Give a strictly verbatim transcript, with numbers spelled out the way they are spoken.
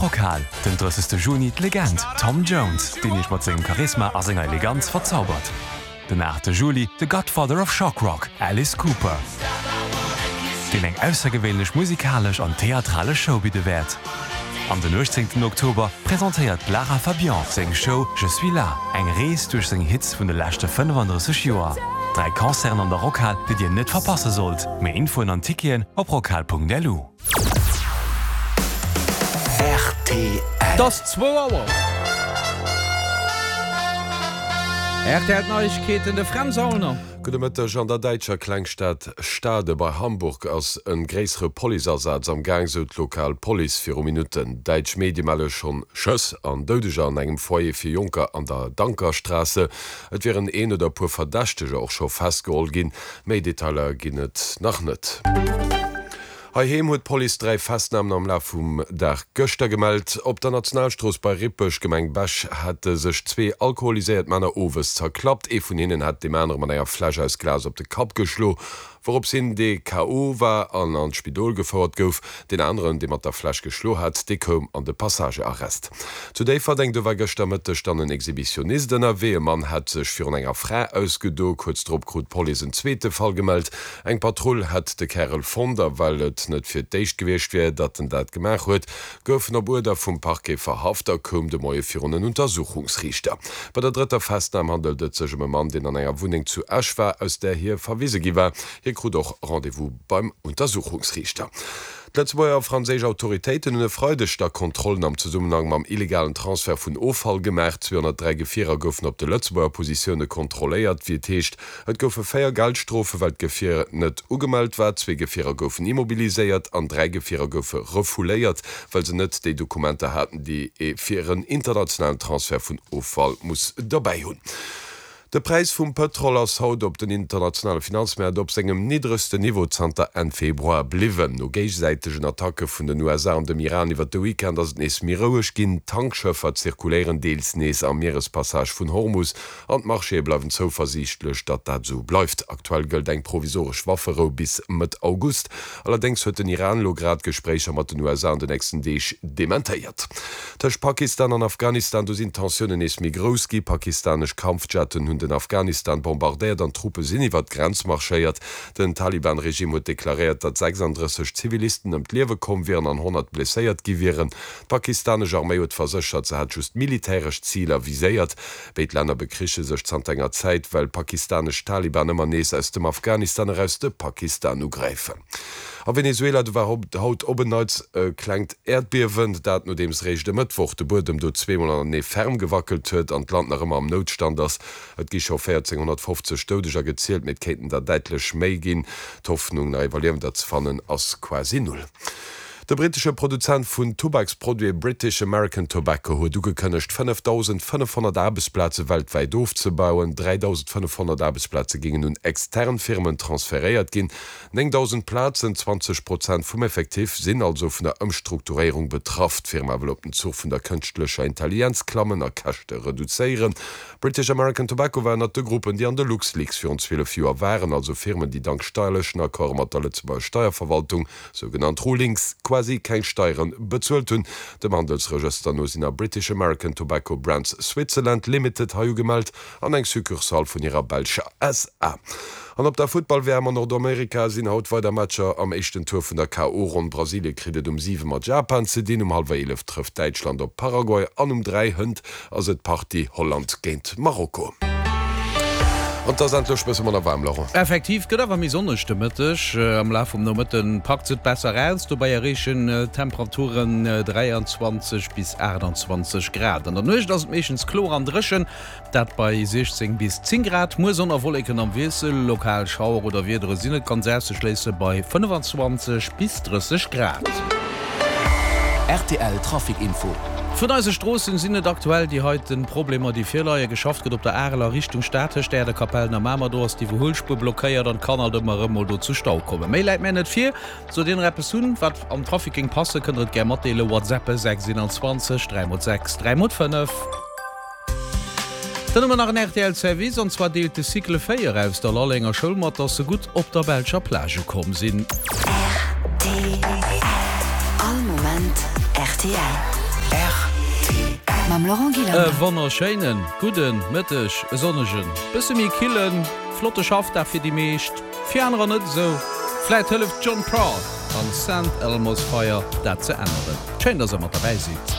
Rockhal, den drëssegste Juni d'Legend Tom Jones, deen iech mat sengem Charisma a senger Eleganz verzaubert. Den aachte Juli de Godfather of Shock Rock, Alice Cooper, deen eng aussergewéinlech musikalesch an theatralesch Show bidde wäert. An den uechtzéngten Oktober presentéiert d'Lara Fabian seng Show Je suis là, eng Rees duerch seng Hits vun de leschte fënnefandrësseg Joer. Dräi Concerten an der Rockhal, déi dir net verpasse sollt. Méi Infoen an Ticketen op rockhal Punkt lu. R T L. Et ass zwou Auer. R T L Neiegkeeten, de Fränz Aulner. Gudde Mëtteg. An der däitscher Klengstad Stade bei Hamburg ass e gréissere Policeasaz am Gaang, sou d'lokal Police viru Minutten. Däitsch Medie melle schonn Schëss an Doudeger an engem Foyer fir Jonker an der Dankerstraße. Et wieren een oder e puer Verdächteger och scho festgeholl ginn. Méi Detailer ginn et nach net. Heiheem huet d'Police dräi Festnamen am Laf vum Dag gëschter gemellt. Op der Nationalstrooss bei Rippeg, Gemeng Bech, hate sech zwee alkoholiséiert Männer owes zerklappt. Ee vun hinnen hat deem anere mat enger Fläsch aus Glas op de Kapp geschlo, wourops hin dee K O war an an d'Spidol gefouert gouf. Deen aneren, dee mat der Fläsch geschlo hat, dee koum an de Passagearrest. Zu Déifferdeng, do war gëschter Mëtteg dann en Exhibitionist ënnerwee. E Mann hat sech virun enger Fra ausgedo. Kuerz drop krut d'Police en zweete Fall gemellt. Eng Patrull hätt de Kärel fonnt a well et net fir d'éischt gewiescht wier, datt en dat gemaach huet, gouf en op Uerder vum Parquet verhaft a koum de Moie virun en Untersuchungsriichter. Bei der drëtter Festnam handelt et sech ëm e Mann, deen an enger Wunneng zu Esch war, aus där hie verwise gi war. Hie krut och Rendez-vous beim Untersuchungsriichter. D'Lëtzebuerger a franséisch Autoritéiten hunn e Freideg da Kontrollen am Zesummenhang mam illegalen Transfert vun Offall gemaach. zweehonnertdräi Gefierer goufen op de Lëtzebuerger Positioune kontrolléiert, wéi et heescht. Et goufe véier Geldstrofen, well d'Gefier net ugemellt war, zwee Gefierer goufen immobiliséiert an dräi Gefierer goufe refouléiert, well se net déi Dokumenter haten, déi ee fir en internationalen Transfert vun Offall muss derbäi hunn. De Präis vum Pëtrol ass haut op den internationale Finanzmäert op sengem niddregsten Niveau zanter Enn Februar bliwwen. No géigesäitegen Attacke vun den U S A an dem Iran iwwer de Weekend ass et nees méi roueg ginn. Tankschëffer zirkuléieren deels nees am Mierespassage vun Hormus an d'Marchéë bleiwen zouversiichtlech, datt dat esou bleift. Aktuell gëllt eng provisoresch Wafferou bis Mëtt August. Allerdéngs huet den Iran elo grad Gespréicher mat den U S A an den nächsten Deeg dementéiert. Tëscht Pakistan an Afghanistan, do sinn d'Tensiounen nees méi grouss gi. Pakistanesch Kampfjetten hunn den Afghanistan bombardéiert an Truppe sinn iwwer d'Grenz marschéiert. Den Taliban-Regime huet deklaréiert, datt sechsandrësseg Zivilisten ëm d'Liewe komm wieren an honnert blesséiert gi wieren. D'pakistanesch Arméi huet verséchert, se hätt just militäresch Ziler viséiert. Béid Länner bekriche sech zanter enger Zäit, well pakistanesch Taliban ëmmer nees aus dem Afghanistan eraus de Pakistan ugräifen. A Venezuela, do war haut op en Neits e klengt Äerdbiewen, dat nodeems réischt e Mëttwoch de Buedem do zweemol hannertenee ferm gewackelt huet an d'Land nach ëmmer am Noutstand ass. Et gi scho véierzénghonnertfofzeg Doudeger gezielt, mee et kéinten der däitlech méi ginn. D'Hoffnung, nach Iwwerliewender ze fannen, ass quasi null. De brittesche Produzent vun Tubaksproduite British American Tobacco huet ugekënnegt, fënnefdausendfënnefhonnert Aarbechtsplaze weltwäit ofzebauen. dräidausendfënnefhonnert Aarbechtsplaze géingen un extern Firmen transferéiert ginn. Néngdausend Plazen, zwanzeg Prozent vum Effectif, sinn also vun der Ëmstrukturéierung betraff. D'Firma wëll op den Zuch vun der kënschtlecher Intelligenz klammen a Käschte reduzéieren. British American Tobacco war ënnert de Gruppen, déi an de LuxLeaks virun zwielef Joer waren, also Firmen, déi dank steierlechen Accorde mat der Lëtzebuerger Steierverwaltung, sougenannt Rulings, quasi keng Steiere bezuelt hunn. Dem Handelsregëster no sinn a British American Tobacco Brands Switzerland Limited hei ugemellt an eng Succursale vun hirer belscher S A. An op der Futtball-W M an Nordamerika sinn haut weider Matcher am éischten Tour vun der K O. Ronn. Brasilie kritt et um siwe mat Japan ze dinn, um hallwer eelef trëfft Däitschland op Paraguay an um dräi hënt ass et d'Partie Holland géint Marokko. An et ass endlech bësse manner waarm, Laurent. Effektiv, gëtt awer méi sonneg de Mëtteg. Am Laf vum Nomëtte packt et besser aus, dobäi erreechen d'Temperaturen dräianzwanzeg bis aachtanzwanzeg Grad. An der Nuecht ass et meeschtens kloer an dréchen, dat bei siechzéng bis zéng Grad. Muer Sonn a Wolleken am Wiessel, lokal Schauer oder Wiedere sinn net ganz auszeschléisse bei fënnefanzwanzeg bis drësseg Grad. R T L Trafic Info. Vun eise Stroossen sinn et aktuell déi heiten Problemer déi virleien. Geschafft gëtt op der Areler Richtung Stad tëscht Äerdekapellen a Mamer. Do ass d'Iwwerhuelspuer blockéiert an kann alt ëmmer erëm mol do zu Stau kommen. Méi läit mär net vir. Sollt dir nach eppes hunn wat am Trafic géing passen, kënnt der et gär matdeelen. WhatsAppe sechs einundzwanzeg dräi mol sechs dräi mol fënnef. Dann hu mer nach en R T L Service, an zwar deelt de Cycle véier aus der Lallenger Schoul mat, dass se gutt op der belscher Plage ukomm sinn. R T L. All Moment R T L. Mam Laurent E Gillander. wonnerschéinen gudden Mëtteg, e sonnegen, bësse méi killen, flotte Schaffdag fir déi meescht, fir anerer net esou. Vläit hëlleft John Prine an Saint Elmo's Fire dat ze änneren. Schéin, dass der mat derbäi sidd.